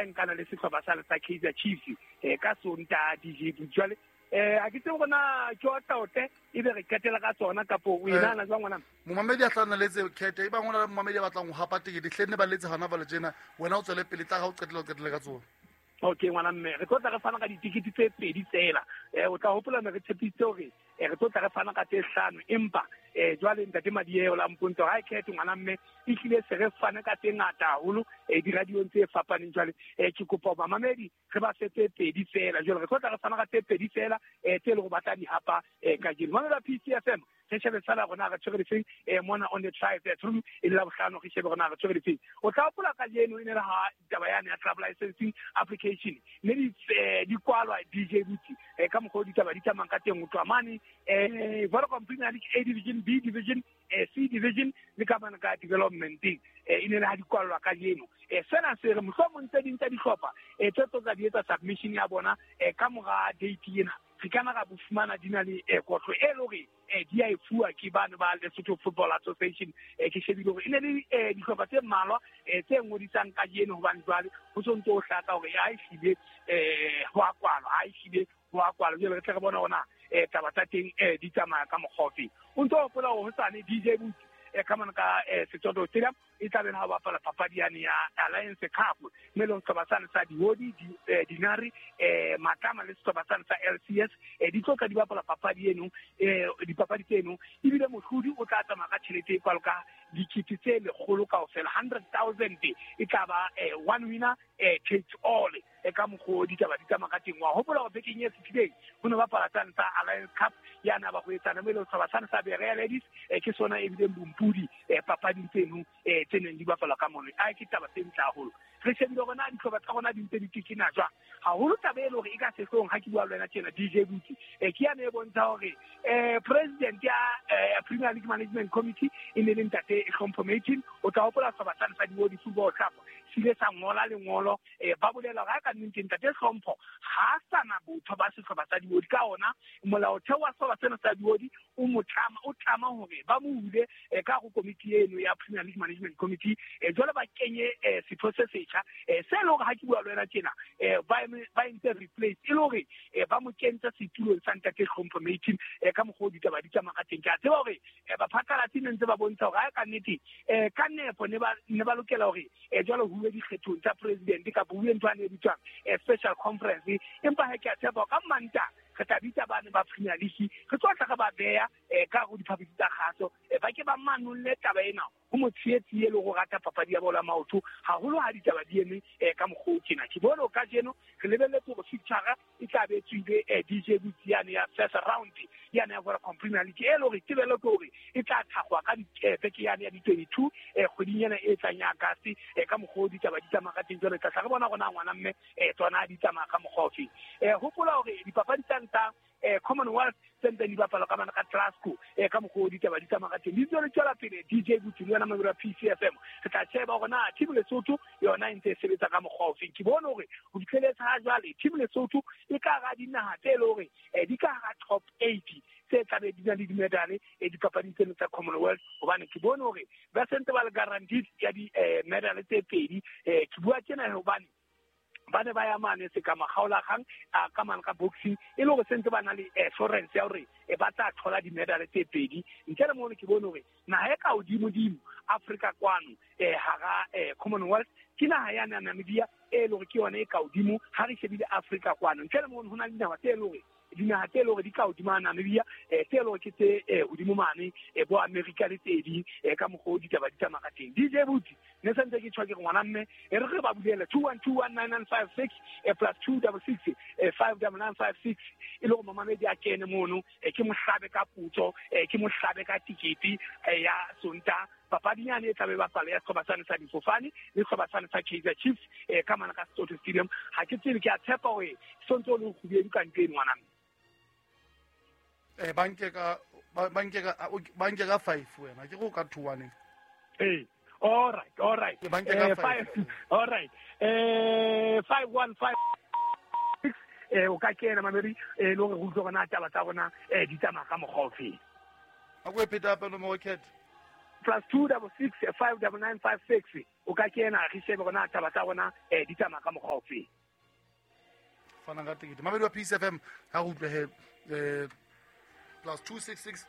ha e nkana le sehlopha sa sa Kaizer Chiefs ka Sontaha DJ Butsi. Jwale a ke tsebe gona ke otla e be re qetela ka tsona kapo o e nahana jwang ngwana? Momamedi a tla nna letse khethe e bang ho na le momamedi a batlang ho hapa tekete hle nne ba letse hana jwale tjena, wena o tswele pele tla ga o qetela o qetele ka tsona. Okay ngwana mme, re tlo tla re fana ka ditikete tse 2 tsela. O tla hopola me re tshepisitse hore re tlo tla re fana ka tse 5, empa jwale ntate Madieo la mpontsha hore ha e khethe ngwana mme e hlile se re fane ka tse ngata haholo diradiong tse fapaneng. Jwale ke kopa bamamedi re ba fe tse 2 fela. Jwale re tlo tla re fana ka tse 2 fela tse leng hore ba tla di hapa kajeno. Mamela PCFM, re shebe fela rona re tshwere difeng mona on the drive through e le la bohlano, re shebe rona re tshwere difeng. O tla hopola kajeno e ne le ha taba yane ya club licensing application mme di kwalwa DJ Butsi ka mokgwa o ditaba di tsamayang ka teng. O tloha mane Vodacom Premier League A Division, B Division, C Division le ka mane ka developmenteng e ne le ha di kwalwa kajeno. Sena se re mohlomong tse ding tsa dihlopha tse tlo tla di etsa submission ya bona ka mora date ena, re kana ra bo fumana di na le kotlo e le hore di a e fuwa ke bano ba Lesotho Football Association. Ke shebile hore e ne le dihlopha tse mmalwa tse ngodisang kajeno, hobane jwale ho so ntse ho hlaka hore ha e hlile ho a kwalwa, ha e hlile ho a kwalwa. Jwale re tle re bone hore na taba tsa teng di tsamaya ka mokgwa ofe. O ntso hopola hore hosane DJ Butsi ka mona ka Setsoto Stadium e tla be ha bapala papadi yane ya Alliance Cup, mme le sehlopha sane sa Diodi, Dinari, Matlama le sehlopha sane sa LCS di tlo tla di bapala papadi eno, dipapadi tseno. Ebile mohlodi o tla tsamaya ka tjhelete e kwalo ka dikete tse lekgolo kaofela, 100,000 e tla ba one winner takes all. Ka mokgwa o ditaba di tsamaya ka teng. Wa hopola hore bekeng e fetileng ho ne bapala tsane tsa Alliance Cup ya na ba ho etsana, mme le sehlopha sane sa Berea Ladies ke sona e bileng bompudi papading tseno tse neng di bapalwa ka mono. A ke taba tse ntle haholo. Re shebile hore na dihlopha tsa rona di ntse di tekena jwang. Haholo taba e le hore e ka sehloohong ha ke bua le wena tjena DJ Butsi, ke yane e bontsha hore president ya Premier League Management Committee e ne le ntate Hlompho Matin. O tla hopola sehlopha sane sa Diodi Football Club se ile sa ngola lengolo ba bolela hore ha ka nnete ntate Hlompho ha sa na botho ba sehlopha sa Diodi, ka ona molaotheo wa sehlopha sena sa Diodi o mo tlama, o tlama hore ba mo hule ka ho komiti eno ya Premier League Management Committee. Jwale ba kenye setho se setjha se le hore ha ke bua le wena tjena ba entse replace, e le hore ba mo kentse setulong sa ntate Hlompho Matin ka mokgwa o ditaba di tsamaya ka teng. Ke a tseba hore baphatlalatsi ne ntse ba bontsha hore ha ka nnete ka nepo ne ba lokela hore jwale ho uwe dikgethong tsa president kapa ho uwe ntho ane e bitswang special conference. Empa ha ke a tshepa ka Manta re tla bitsa bane ba Premier League, re tlo tla re ba beya ka ho diphaphisi tsa kgaso ba ke ba manolle taba ena ho motshehetsi e le ho rata papadi ya bolo ya maoto haholo ha ditaba di eme ka mokgwa o tjena. Ke bone kajeno re lebelletse hore fixture e tla be tswile DJ Butsi yane ya first round yane ya Vodacom Premier League, e le hore tebello ke hore e tla thakgwa ka beke yane ya di-22 kgweding ena e tlang ya Agasti ka mokgwa o ditaba di tsamaya ka teng. Jwale tla re bona rona ngwana mme tsona di tsamaya ka mokgwa ofe. Hopola hore dipapadi tsa nta Commonwealth tse ntseng di bapalwa ka mane ka Glasgow ka mokgwa o ditaba di tsamaya ka teng di ntse di tswela pele. DJ Butsi le yona mamelo ya PCFM re tla sheba hore na team Lesotho yona e ntse e sebetsa ka mokgwa ofe. Ke bone hore ho fihleletse ha jwale team Lesotho e ka hara dinaha tse le hore di ka hara top 8 tse tlabe di na le dimedale dipapading tseno tsa Commonwealth, hobane ke bone hore ba sentse ba le guaranteed ya di-medale tse 2. Ke bua tjena hobane ba ne ba ya mane se ka makgaolakgang a ka mane ka boxing, e le hore sentse ba na le assurance ya hore ba tla thola di-medale tse 2. Ntle le mono ke bone hore naha e ka hodimodimo Afrika kwano hara Commonwealth ke naha ya Namibia e le hore ke yona e ka hodimo ha re shebile Afrika kwano. Ntle le mono ho na le dinaha tse le hore dinaha tse le hore di ka hodima Namibia tse le hore ke tse hodimo mane bo America le tse ding ka mokgwa o ditaba di tsamaya ka teng. DJ Butsi ne sentse ke tjho ke re ngwana mme e re re ba bulele 21219956 plus 266 59956 e le hore mamamedi a kene mono ke mohlabe ka putso ke mohlabe ka tikete ya Sontaha papadi yane e tlabe bapala ya sehlopha sane sa difofane le sehlopha sane sa Kaizer Chiefs ka mane ka Sesotho Stadium. Ha ke tsebe, ke a tshepa hore sontse o le kgubedu ka ntho eno ngwana mme. Banke ka 5 wena ke go ka 2 1. All right, all right. Banke ka 5. All right. 5156 o ka kena mamedi le hore re utlwe hore na taba tsa rona di tsamaya ka mokgwa ofe. A ko e pheta hape nomoro, Cat. +2 66 5 99 56 o ka kena re shebe rona taba tsa rona di tsamaya ka mokgwa ofe. Fana ka tekete mamedi wa Peace FM ha re utlwe he +266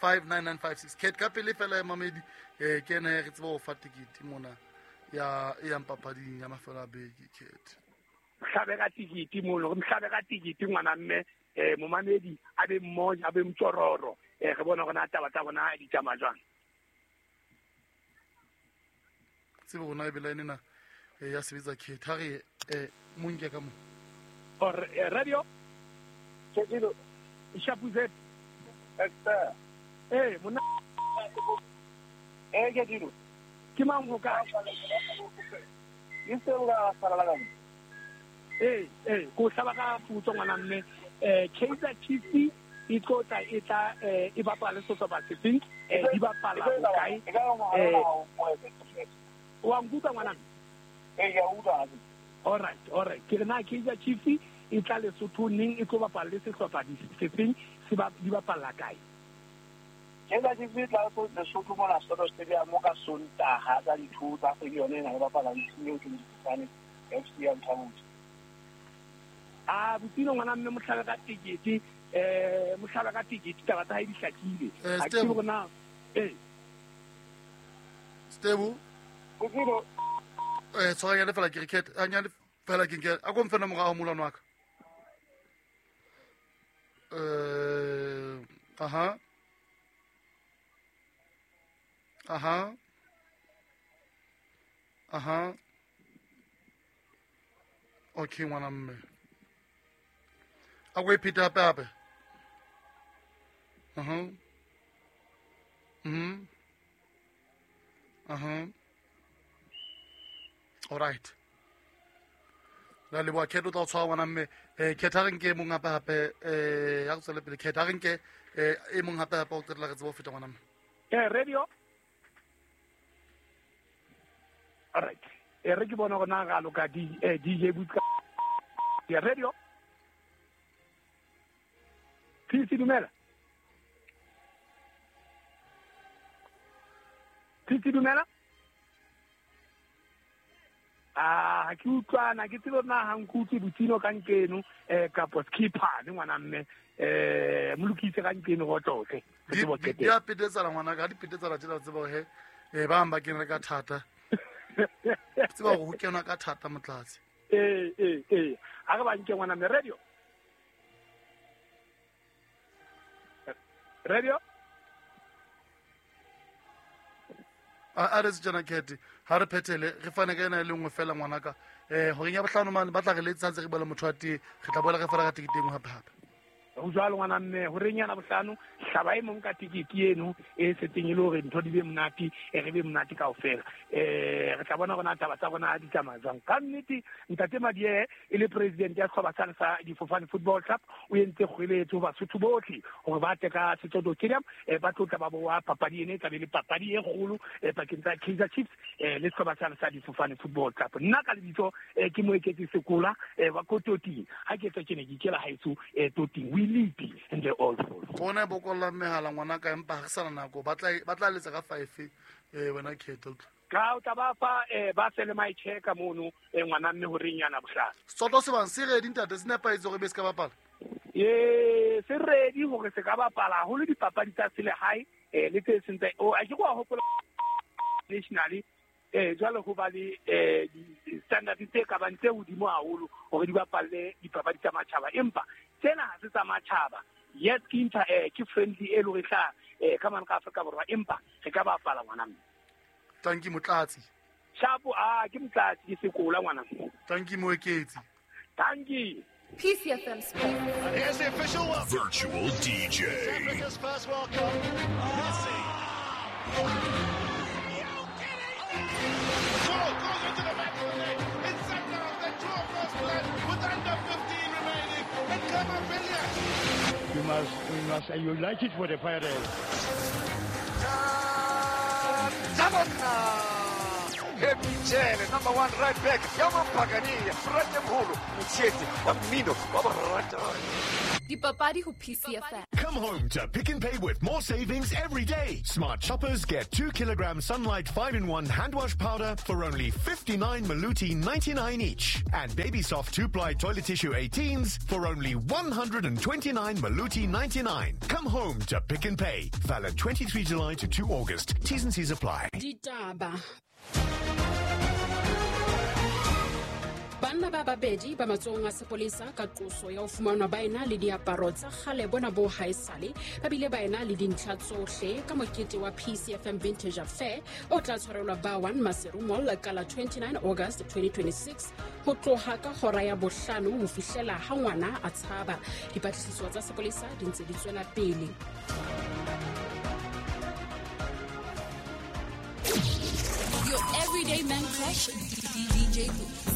59956 ket ka pele fela mamedi ke ena re tseba ho fa tekete mona ya e yang papading ya mafelo a beke. Ket hlabe ka tikiti mono, re hlabe ka tikiti ngwana mme momamedi a be mmoja a be mtsororo re bona rona taba tsa rona di tsamaya jwang. Tsebo rona e bela ena ya sebetsa ket ha re monke ka mo or radio Tshekilo Shapuzet Esther mona Tshekilo ke mang ho ka e sela sala la ko hlaba ka putso ngwana mme Kaizer Chiefs e tlotla e tla e bapala sehlopha se seng di bapala kae wa nkutlwa ngwana mme? Ya utlwa. All right ke re na Kaizer Chiefs e tla Lesotho neng e tlo bapala le sehlopha se seng se ba di bapala kae? Kaizer Chiefs e tla Lesotho mona Soto Stadium ka Sontaha ka di-2 tsa kgwedi yone ena e bapala le team eo ke Difofane FC ya Mthabutse. A botino ngwana mme mohlabe ka tekete mohlabe ka tekete taba tsa hae di hlakile ha ke bona Stebo Botino tshwara nyane fela ke re ket a nyane fela ke nke a ko mfe nomoro ya molwana wa ka. Aha aha aha okay ngwana mme a ko e phete hape hape. Aha mhm aha all right la leboha Ket o tla o tshwara ngwana mme Ket ha re nke e mong hape hape ya re tswele pele Ket ha re nke e mong hape hape o qetella re tsebe ho feta ngwana mme. Radio all right re ke bona rona ga loka DJ Butka ya radio Tisi dumela Tisi dumela a ke utlwana ke tsebe na ha nkutlwe botsino ka nkeno kapo skipper ne ngwana mme molokise ka nkeno go tlotle di a petetsana ngwana ka di petetsana tsela tsebo he ba bang ba kena ka thata tseba go kenwa ka thata motlatsi a re ba nke ngwana mme radio radio a re tsena Ket ha re phethele re fane ka ena e le nngwe fela ngwanaka horeng ya bohlano mane ba tla re letsa ntse re bua le motho wa tee re tla boela re fana ka tekete e nngwe hape hape. Ho jwalo ngwana mme horeng yana bohlano hlaba e mong ka tekete eno e setseng e le hore ntho di be monate re be monate kaofela re tla bona rona taba tsa rona di tsamaya jwang. Ka nnete ntate Madie e le president ya sehlopha sane sa Difofane Football Club o entse kgweletso Basotho bohle hore ba tle ka Setsoto Stadium ba tlotla ba boa papadi ene e tla be le papadi e kgolo pakeng tsa Kaizer Chiefs le sehlopha sane sa Difofane Football Club. Nna ka lebitso ke Moeketsi Sekola wa ko Toting ha ke tswa ke ne ke ikela haeso Toting and the all bona bokolla mehala ngwana ka empa re sana nako ba tla letsa ka 5 wena Ket ka o tla ba fa ba sele my check mono ngwana mme horeng yana bohlano Sotho se bang se ready ntate se nepahetse hore be se ka bapala se ready hore se ka bapala haholo dipapadi tsa selehae le tse seng tsa a ke go hopola nationally jwale ho ba le standard tse ka bang tse hodimo haholo hore di bapalle dipapadi tsa matjhaba empa tsena ha se tsa matjhaba yes ke inter ke friendly e le re tla ka mane ka Afrika Borwa empa re ka bapala ngwana mme. Tanki motlatsi Shapo ke motlatsi ke sekola ngwana mme. Tanki Moeketsi. Tanki PCFM Sport. Here's the official virtual DJ. Africa's first World Cup. Messi. Goal goes into the back of the net. It's Sundowns that draw first blood with under 15 remaining. And Kamavilia. You must, you like it for the Pirates. Zabona! Happy Jele, number one right back ya Mapakania, Ratemholo, Motsheetsi wa mmino wa boratani. Dipapadi ho PCFM. Come home to Pick n Pay with more savings every day. Smart shoppers get 2 kilogram Sunlight 5-in-1 hand wash powder for only 59 Maluti 99 each. And Baby Soft 2-ply toilet tissue 18s for only 129 Maluti 99. Come home to Pick n Pay. Valid 23 July to 2 August. T's and C's apply. Ditaba. Banna ba babedi ba matsohong a sepolesa ka qoso ya ho fumanwa ba ena le diaparo tsa kgale bona bo haesale, ba bile ba ena le dintlha tsohle ka mokete wa PCFM Vintage Affair o tla tshwarelwa ba 1 Maseru Mall ka la 29 August 2026 ho tloha ka hora ya bohlano ho fihlela ha ngwana a tshaba. Dipatlisiso tsa sepolesa di ntse di tswela pele. Your everyday man crush, DJ Boots.